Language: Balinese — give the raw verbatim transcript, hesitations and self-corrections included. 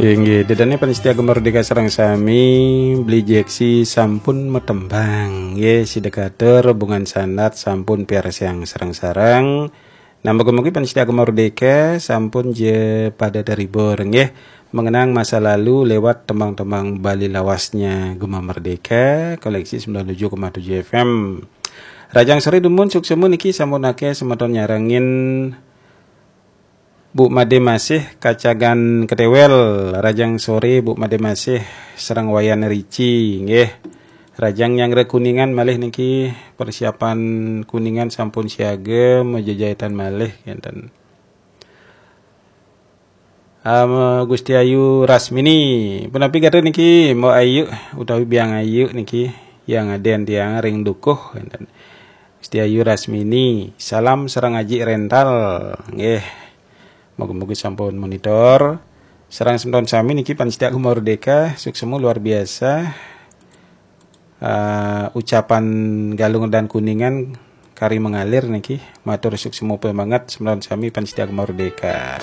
Inggih, dedane panitia Gema Merdeka sareng sami, Beli Jeksi sampun matembang. Nggih, sida katur, Bungan Sandat sampun piarsiang sareng-sareng. Nah, mugi-mugi panitia Gema Merdeka sampun ja pada terhibur, nggih. Mengenang masa lalu lewat tembang-tembang Bali lawasnya Gema Merdeka, koleksi sembilan tujuh koma tujuh F M. Rajang sore dumun, suksma niki sampun akeh semeton nyarengin. Bu Made Masih kacagan Ketewel, rajang sore Bu Made Masih sareng Wayan Rici, nggih. Rajang nyanggra Kuningan malih niki, persiapan Kuningan sampun siaga, majejetan malih kenten. Am, Gusti Ayu Rasmini, punapi gatra niki, Mbok Ayu utawi Biang Ayu niki, yang aden tiang ring dukuh kenten. Gusti Ayu Rasmini, salam sareng Aji Rental, nggih. Mugi-mugi sampun monitor. Sareng semeton sami niki panitia Gema Merdeka, suksma luar biasa. Eh, ucapan Galungan Kuningan kari mengalir niki. Matur suksma banget semeton sami panitia Gema Merdeka.